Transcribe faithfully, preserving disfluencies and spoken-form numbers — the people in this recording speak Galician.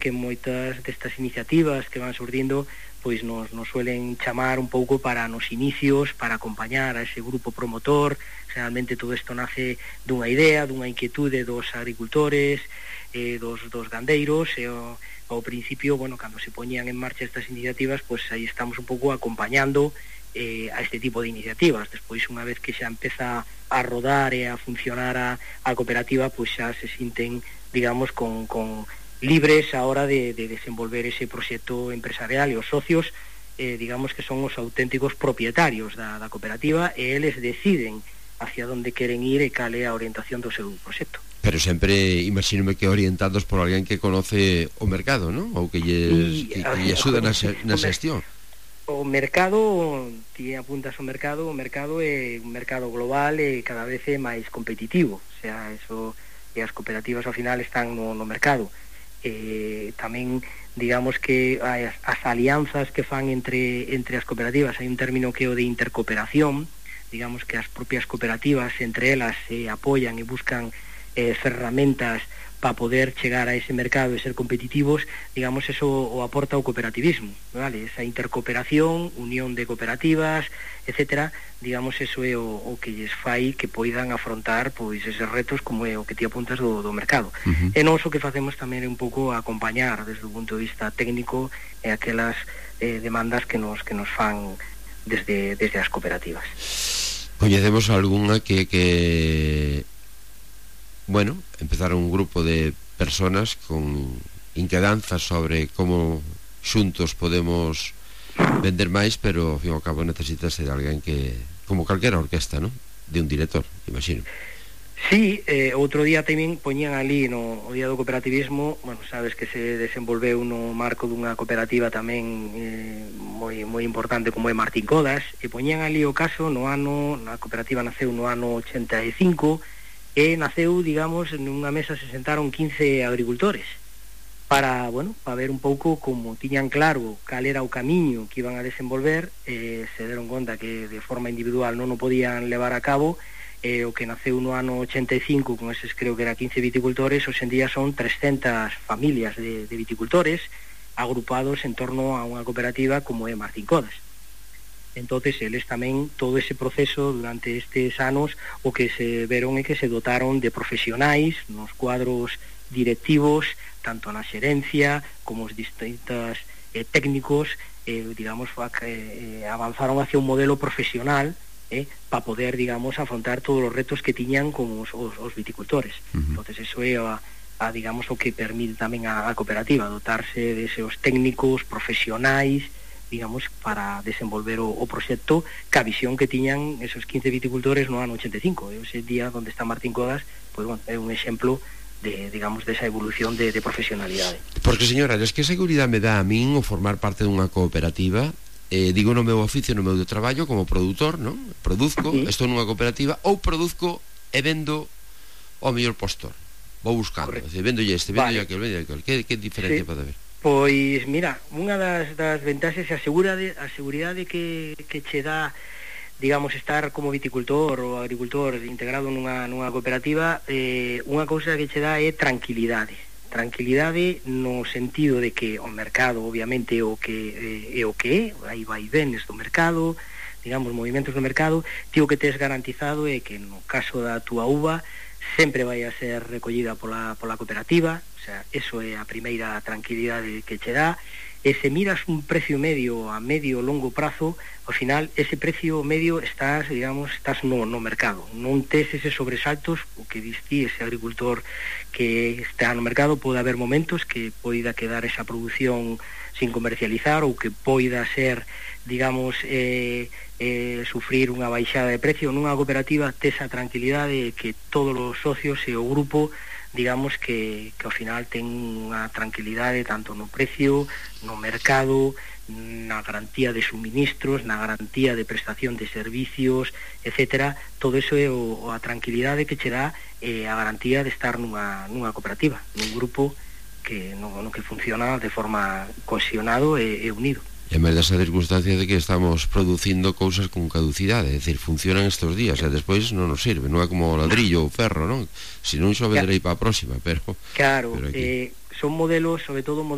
que moitas destas iniciativas que van surdindo pois nos, nos suelen chamar un pouco para nos inicios, para acompañar a ese grupo promotor. Realmente todo isto nace dunha idea, dunha inquietude dos agricultores, eh, dos, dos gandeiros, e ao, ao principio, bueno, cando se poñían en marcha estas iniciativas, pois aí estamos un pouco acompañando eh, a este tipo de iniciativas. Despois, unha vez que xa empeza a rodar e a funcionar a, a cooperativa, pois xa se sinten, digamos, con... con libres a hora de, de desenvolver ese proxecto empresarial, e os socios, eh, digamos que son os auténticos propietarios da, da cooperativa, e eles deciden hacia onde queren ir e cal é a orientación do seu proxecto. Pero sempre, imagínome que orientados por alguén que conoce o mercado, non? Ou que lles, que, que lles axuda na, na xestión. O mercado, ti apuntas ao mercado, o mercado é un mercado global e cada vez é máis competitivo, o sea, eso, e as cooperativas ao final están no, no mercado. Eh, tamén digamos que as, as alianzas que fan entre, entre as cooperativas, hai un término que é o de intercooperación, digamos que as propias cooperativas entre elas se apoyan e buscan eh, ferramentas para poder chegar a ese mercado e ser competitivos, digamos, eso o aporta o cooperativismo, vale? Esa intercooperación, unión de cooperativas, etcétera, digamos, eso é o, o que lles fai que poidan afrontar pois eses retos como é o que ti apuntas do, do mercado. Uh-huh. E nós o que facemos tamén é un pouco acompañar desde o punto de vista técnico e aquelas eh, demandas que nos que nos fan desde, desde as cooperativas. Coñecemos algunha que... que... bueno, empezaron un grupo de personas con inquedanzas sobre como xuntos podemos vender máis, pero ao fin e ao cabo necesitas de alguén que, como calquera orquesta, non? De un director, imagino. Sí, eh, outro día tamén poñían ali no o día do cooperativismo, bueno, sabes que se desenvolveu no marco dunha cooperativa tamén eh, moi moi importante como é Martín Codas, e poñían ali o caso no ano, a cooperativa naceu no ano ochenta e cinco, e naceu, digamos, nunha mesa se sentaron quince agricultores para, bueno, para ver un pouco como tiñan claro cal era o camiño que iban a desenvolver, e se deron conta que de forma individual non o podían levar a cabo, e o que naceu no ano ochenta e cinco con eses creo que era quince viticultores, hoxe en día son trescentas familias de, de viticultores agrupados en torno a unha cooperativa como é Martín Codas. Entonces eles tamén, todo ese proceso durante estes anos, o que se veron é que se dotaron de profesionais nos cuadros directivos, tanto na xerencia como os distintos eh, técnicos, eh, digamos, eh, avanzaron hacia un modelo profesional eh, para poder, digamos, afrontar todos os retos que tiñan con os, os, os viticultores. Uh-huh. Entonces eso é a, a, digamos, o que permite tamén a, a cooperativa, dotarse de esos técnicos profesionais, digamos, para desenvolver o, o proxecto ca visión que tiñan esos quince viticultores no ano ochenta e cinco. E ese día onde está Martín Codas, pois, bueno, é un exemplo de, digamos, desa evolución de, de profesionalidade. Porque, señora, es que seguridade me dá a min o formar parte dunha cooperativa, eh, digo no meu oficio, no meu de traballo como produtor, non? Produzco, sí. Estou nunha cooperativa, ou produzco e vendo ao mellor postor. Vou buscando, é dicir, vendo este, vendo vale. aquel, vendo aquel. Que, que diferencia sí. pode haber? Pois, mira, unha das, das ventaxes é a, segurade, a seguridade que, que che dá, digamos, estar como viticultor ou agricultor integrado nunha, nunha cooperativa. Eh, unha cousa que che dá é tranquilidade. Tranquilidade no sentido de que o mercado, obviamente, o que eh, é o que é, aí vai venes do mercado, digamos, movimentos do mercado, ti o que tes garantizado é que no caso da túa uva sempre vai a ser recollida pola, pola cooperativa. O sea, eso é a primeira tranquilidade que che dá. E se miras un precio medio a medio longo prazo, ao final ese precio medio estás, digamos, estás no, no mercado. Non tes eses sobresaltos, o que diste ese agricultor que está no mercado. Pode haber momentos que poida quedar esa produción sin comercializar, ou que poida ser, digamos, eh, eh, sufrir unha baixada de precio. Nunha cooperativa tes a tranquilidade de que todos os socios e o grupo, digamos que, que ao final ten unha tranquilidade tanto no precio, no mercado, na garantía de suministros, na garantía de prestación de servicios, etcétera. Todo eso é o, a tranquilidade que che dá eh, a garantía de estar nunha, nunha cooperativa, nun grupo que no, no que funciona de forma cohesionado e, e unido. E máis desa circunstancia de que estamos producindo cousas con caducidade, é dicir, funcionan estes días e despois non nos sirve, non é como o ladrillo ou ferro, non? Se non xo venderei para a próxima, pero claro, pero aquí... eh, son modelos, sobre todo modelos